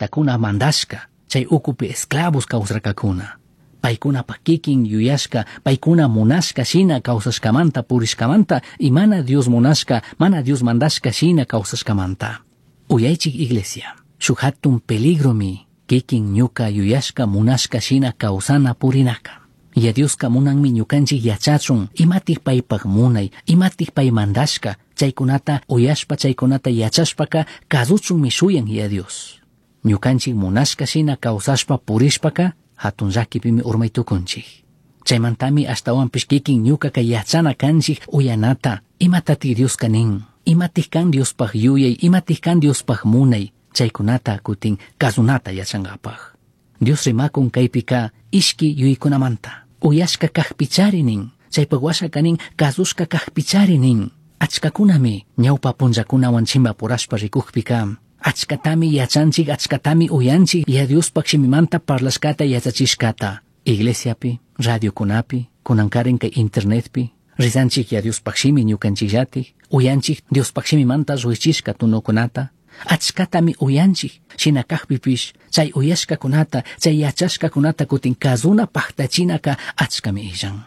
Llajtacuna mandashca, chay ukupi esclavos kawsarkakuna. Paykunapaq kikin yuyashka, paykuna munashka shina kawsashkamanta purishkamanta y mana Dios munashka, mana Dios mandashka shina kawsashkamanta. Uyaychik iglesia, shuk hatun peligromi kikin ñuka yuyashka munashka shina kawsana purinaka. Yaya Dioska munanmi ñukanchik yachachun imatik paypak munay, imatik pay mandashka, chaykunata uyashpa chaykunata yachashpaka kasuchunmi shuyan Yaya Dios. Ñukanchik munashka shina kawsashpa purishpaka hatun llakipimi urmay tukunchik. Chaymantami ashtawanpish kikin ñukaka yachana kanchik uyanata, imatatik Dioska nin, imatik kan Diospaj yuyay, imatik kan Diospaj munay, chaykunata kutin kasunata yachankapak. Dios rimakun kaypika ishki yuyaykunamanta, uyashka kajpichari nin, chaypak washaka nin kasushka kajpichari nin. Achkakunami ñawpa punllakunawan chimpapurashpa rikukpika, achkatami yachanchik, achkatami uyanchik Yaya Diospaj shimimanta parlashkata yachachishkata. Iglesiapi, radiokunapi, kunankarin kay internetpi, rizanchik Yaya Diospaj shimi ñukanchikllatik, uyanchik Diospaj shimimanta llushishka tunukunata, achkatami uyanchik, shina kajpipish chay uyashkakunata, chay yachashkakunata kutin kazuna paktachinaka achkami illan.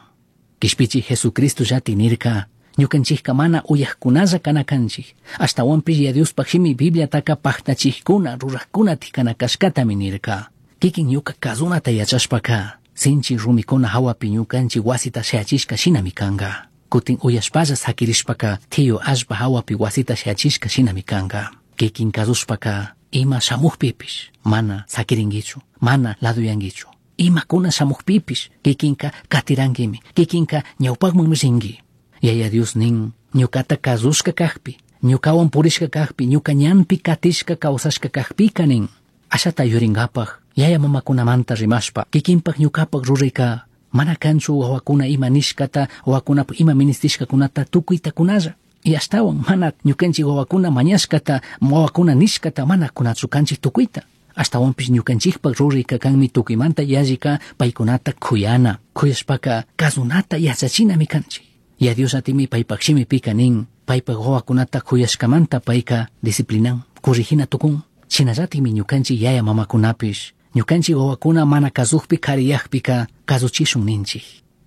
Kishpichi Jesucristo llati nirka, ñukanchikka mana uyajkunalla kana kanchik, ashtawanpish Yaya Diospaj shimi Bibliataka paktachikkuna, rurajkunatik kana kashkatami nirka. Kikin ñuka kazunata yachashpaka, sinchi rumikuna hawapi ñukanchik wasita shayachishka shinami kanka. Kutin uyashpalla sakirishpaka, tiyu allpa hawapi wasita shayachishka shinami kanka. Kikin kasushpaka, ima shamukpipish, mana sakirinkichu, mana laduyankichu. Imakuna shamukpipish, kikinka katirankimi, kikinka ñawpakmanmi rinki. Yaya Dios nin, ñukata kasushka kajpi, ñukawan purishka kajpi, ñuka ñanpi katishka kawsashka kajpika nin. Ashata yurinkapak, yaya mamakunamanta rimashpa, kikinpak ñukapak rurayka, mana kanchu wawakuna ima nishkata, wawakunapak ima ministishkakunata tukuyta kunalla. Y ashtawan mana ñukanchik wawakuna mañashkata, wawakuna nishkata mana kunachu kanchik tukuyta. Ashtawanpish ñukanchikpak rurayka kanmi tukuymanta yallika paykunata kuyana, kuyashpaka kasunata yachachinami kanchik. Yaya Dios atimi paypak shimipika nin, paypak wawakunata kuyashkamanta payka disciplinan, corrigina tukun. Shinallatikmi ñukanchik yaya mamakunapish, ñukanchik wawakuna mana kasukpi kariyakpika kasuchishun ninchik.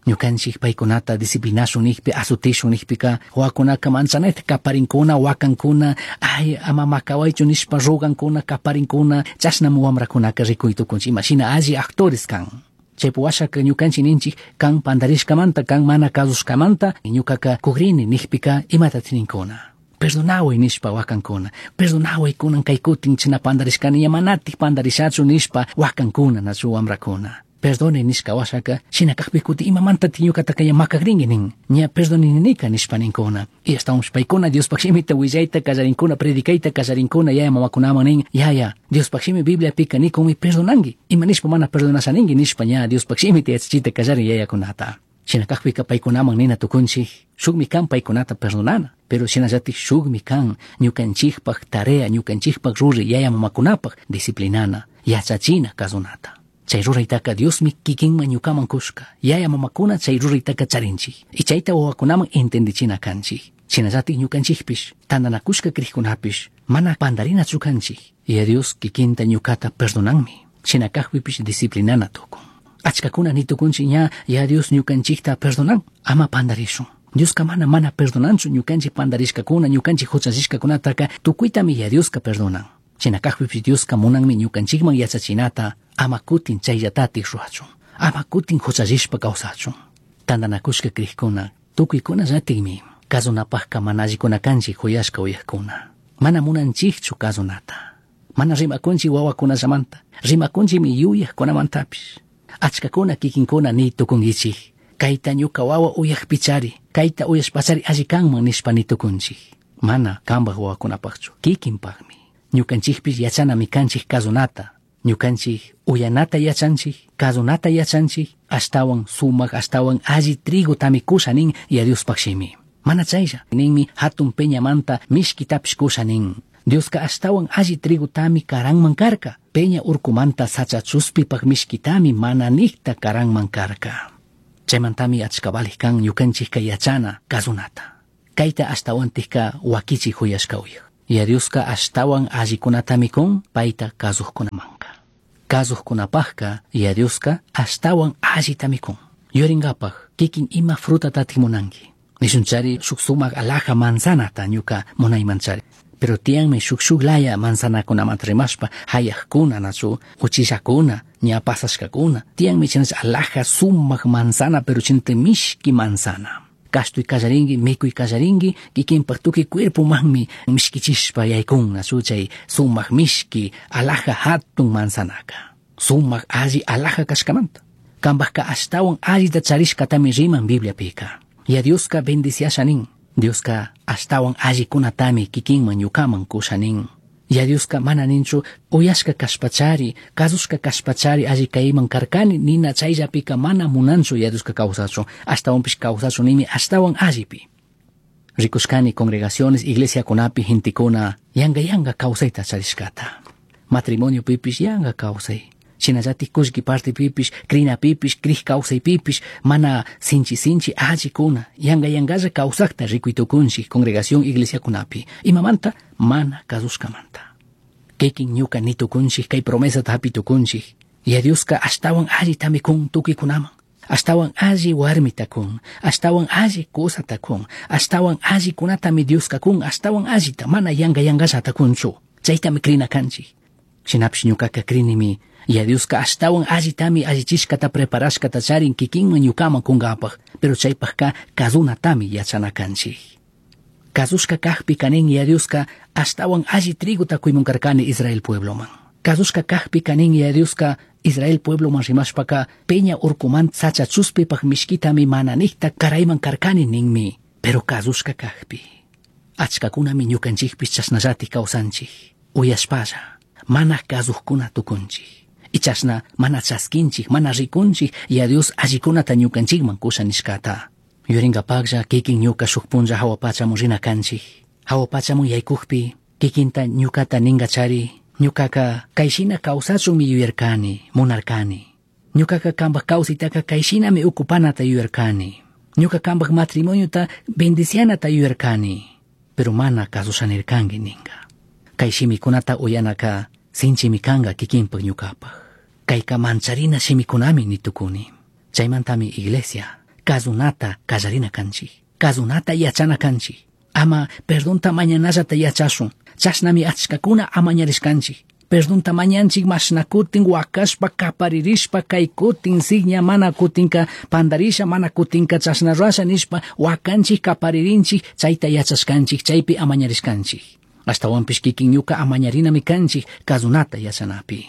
Ñukanchik paykunata disciplinashun nikpi, azutishun nikpika, wawakunaka manchanayta kaparinkuna, wakankuna, ay ama makawaychu nishpa rogankuna, kaparinkuna, chashnami wamrakunaka rikuy tukunchik, imashina alli actores kan. Chaypi washaka ñukanchik ninchik kan pandarishkamanta, kan mana kasushkamanta, ñukaka kugrini nikpika imatatik ninkuna. Perdonaway nishpa wakankuna, perdonaway kunan kay kutin china pandarishkani, ña manatik pandarishachu nishpa wakankuna nachu wamrakuna. Perdone nishka washaka, shina kajpi kutin imamantatik ñukataka ña makakrinki nin, ña perdonininika nishpa ninkuna. Y ashtawanpish paykuna Diospaj shimita willayta kallarinkuna, predicayta kallarinkuna, yaya mamakunaman nin, yaya, Diospaj shimi Bibliapika nikunmi perdonanki, ima nishpa mana perdonashaninki nishpa ña Diospaj shimita yachachita kallarin yayakunata. Shina kajpika paykunaman nina tukunchik, shukmi kan paykunata perdonana, pero shinallatik shukmi kan ñukanchikpak tarea, ñukanchikpak ruray yaya mamakunapak disciplinana, yachachina kasunata. Chay ruraytaka Diosmi kikinman ñukaman kushka, yaya mamakuna chay ruraytaka charinchik, y chayta wawakunaman entendichina kanchik. Shinallatik ñukanchikpish, tantanakushka krikkunapish, mana pandarinachu kanchik. Yaya Dios kikinta ñukata perdonanmi, shina kajpipish disciplinana tukun. Achkakuna ni tukunchik ña Yaya Dios ñukanchikta perdonan, ama pandarishun. Dioska mana mana perdonanchu ñukanchik pandarishkakuna, ñukanchik huchallishkakunataka tukuytami Yaya Dioska perdonan. Shina kajpipish Dioska munanmi ñukanchikman yachachinata, ama kutin chayllatatik ruwachun, ama kutin huchallishpa kawsachun. Tantanakushka krikuna, tukuykuna llatikmi, kasunapakka mana allikuna kanchik huyashka uyajkuna. Mana munanchikchu kasunata. Mana rimakunchik wawakunallamanta, rimakunchikmi yuyajkunamantapish. Achkakuna kikinkuna ni tukunkichik, kayta ñuka wawa uyajpichari, kayta uyashpachari alli kanman nishpa ni tukunchik. Mana kanpak wawakunapakchu, kikinpakmi. Ñukanchikpish yachanami kanchik kasunata, ñukanchik uyanata yachanchik, kasunata yachanchik, ashtawan sumak, ashtawan alli trigotami kusha nin Yaya Diospaj shimi. Mana chaylla, ninmi hatun peñamanta mishkitapish kusha nin. Dioska ashtawan alli trigotami karanman karka, peña urkumanta sacha chuspipak mishkitami mana nikta karanman karka. Chaymantami achka valij kan ñukanchikka yachana kasunata. Kayta ashtawantikka wakichi huyashka uyaj. Yaya Dioska ashtawan allikunatami kun payta kazujkunamanka. Kazujkunapajka Yaya Dioska ashtawan allitami kun. Yuyaringapaj kikin ima frutatatik munanki. Nishunchari shuk sumak alaja manzanata ñuka munaymanchari. Pero tiyanmi shuk shuk laya manzanakunamanta rimashpa hayajkuna nachu uchillakuna ña pasashkakuna. Tiyanmi chinacha alaja sumak manzana pero chinata mishki manzana. Kashtuy kallarinki, mikuy kallarinki, kikinpak tukuy cuerpomanmi mishkichishpa yaykun nachu chay sumak mishki alaja hatun manzanaka. Sumak alli alaja kashkamanta. Kambajka ashtawan allita charishkatami riman Bibliapika. Ya Dioska bendiciasha nin. Dioska ashtawan allikunatami kikinman ñukaman kusha nin. Ya Dioska mana ninchu uyashka kashpachari, kazushka kashpachari alli kayman karkani nina chayllapika mana munanchu ya Dioska kawsachun, ashtawanpish kawsachun nimi ashtawan allipi. Rikushkani congregaciones, iglesiakunapi gentekuna yanga yanga kawsayta charishkata. Matrimonio pipish yanga kawsay. Shinallatik kullki partepipish, krinapipish, krij kawsaypipish, mana sinchi sinchi allikuna, yanga yangalla kawsakta rikuytukunchik congregación iglesiakunapi. Imamanta mana kasushkamanta. Kikin ñuka nitukunchik kay promesata hapitukunchik. Ya Dioska ashtawan allitami kun tukuykunaman. Ashtawan alli warmita kun, ashtawan alli kusata kun, ashtawan allikunatami Dioska kun, ashtawan allita mana yanga yangallata kunchu. Chaytami krina kanchik. Shinapish ñukaka krinimi Ya Dioska ashtawan allitami allichishkata preparashkata charin kikinman ñukaman kunkapaj, pero chaypajka kazunatami yachana kanchik. Kazushka kajpi kanin Ya Dioska ashtawan alli trigota kuymun karkani Israel puebloman. Kazushka kajpi kanin Ya Dioska Israel puebloman rimashpaka peña urkuman sacha chuspipaj mishkitami mananikta karayman karkani ninmi, pero kazushka kajpi. Achkakunami ñukanchikpish chashnallatik kawsanchik, uyashpalla, mana kazujkuna tukunchik. Ichashna mana chaskinchik, mana rikunchik, ya Dios allikunata ñukanchikman kusha nishkata. Yuringapaklla kikin ñuka shuk punlla hawa pachamun rina kanchik. Hawa pachamun yaykukpi, kikinta ñukata ninkachari, ñukaka kayshina kawsachunmi yuyarkani, munarkani. Ñukaka kambaj kawsaytaka kayshinami ukupanata yuyarkani. Ñuka kambaj matrimoniota bendicianata yuyarkani. Pero mana kasushanirkanki ninka. Kay shimikunata uyanaka sinchimi kanka kikinpak ñukapaj. Kayka mancharina shimikunami nitukuni. Chaymantami iglesia kazunata kallarina kanchik. Kazunata yachana kanchik. Ama perdonta mañanallata yachashun. Chashnami achkakuna amañarishkanchik. Perdonta mañanchik mashna kutin wakashpa kaparirishpa kay kutin sigña mana kutinka pandarisha mana kutinka chashna rurasha nishpa wakanchik kaparirinchik chayta yachashkanchik chaypi amañarishkanchik. Ashtawanpish kikin ñuka amañarinami kanchik kazunata yachanapi.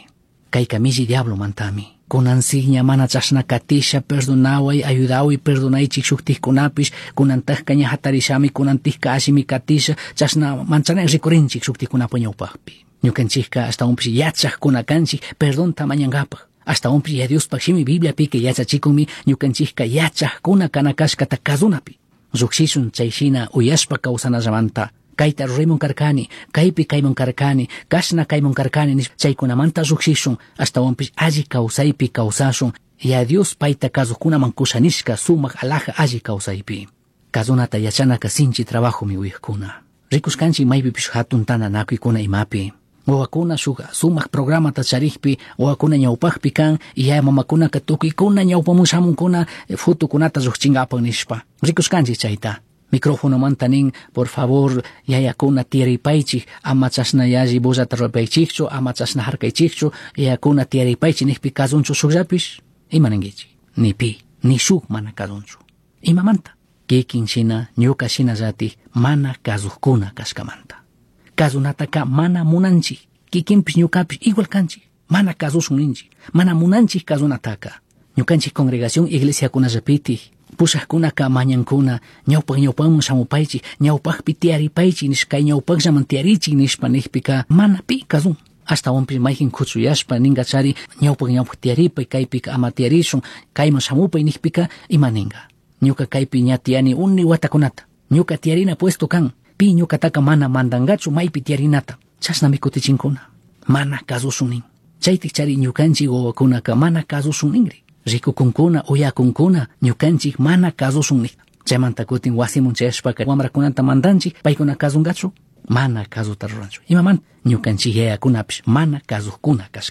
Kayka milli diablo mantami. Kunan sigña mana chashna katisha perdonaway ayudaway perdonaychik shuktikkunapish kunantajka ña hatarishami kunantikka allimi katisha chashna manchana rikurinchik shuktikkunapa ñawpajpi. Ñukanchikka ashtawanpish yachajkuna kanchik perdonta mañankapaj. Ashtawanpish ya Diospaj shimi Bibliapika yachachikunmi ñukanchikka yachajkuna kana kashkata kazunapi. Llukshishun chayshina uyashpa kawsanallamanta. Kayta ruraymun karkani, kaypi kaymun karkani, kashna kaymun karkani nishpa chaykunamanta llukshishun, ashtawanpish alli kawsaypi kawsashun, ya Dios payta kazujkunaman kushanishka sumak alaja alli kawsaypi. Kazunata yachanaka sinchi trabajomi uyajkuna. Rikushkanchik maypipish hatun tantanakuykuna imapi. Wawakuna shuk sumak programata charikpi, wawakuna ñawpakpi kan, yaya mamakunaka tukuykuna ñawpamun shamunkuna fotokunata llukchinkapak nishpa. Rikushkanchik chayta. Microfonomanta nin, por favor, yayakuna tiyaripaychik, ama chashna yalli bullata rurapaychikchu, ama chashna harkaychikchu, yayakuna tiyaripaychik nikpi kazunchu shukllapish, ima ninkichik? Ni pi, ni shuk mana kazunchu. Imamanta? Kikin shina, ñuka shinallatik mana kazujkuna kashkamanta. Kazunataka mana munanchik, kikinpish ñukapish igual kanchik, mana kazushun ninchik, mana munanchik kazunataka. Ñukanchik congregación iglesiakunallapitik, pushajkunaka mañankuna, ñawpak ñawpakman shamupaychik, ñawpakpi tiyaripaychik nishpa, kay ñawpakllaman tiyarichik nishpa nikpika mana pi kazun. Ashtawanpish mayjin kuchuyashpa ninkachari ñawpak ñawpak tiyaripay, kaypika ama tiyarishun, kayman shamupay nikpika ima ninka. Ñuka kaypi ña tiyani uni watakunata, ñuka tiyarina puesto kan, pi ñukataka mana mandankachu maypi tiyarinata, chashnami kutichinkuna, mana kasushun nin. Chaytik chari ñukanchik wawakunaka mana kasushun ninri. Rikukunkuna, uyakunkuna, ñukanchik mana kasushun nik. Chaymanta kutin wasimun chayashpaka wamrakunata mandanchik, paykuna kasunkachu. Mana kazuta ruranchu. Imamanta ñukanchik yayakunapish mana kazujkuna kashkamanta.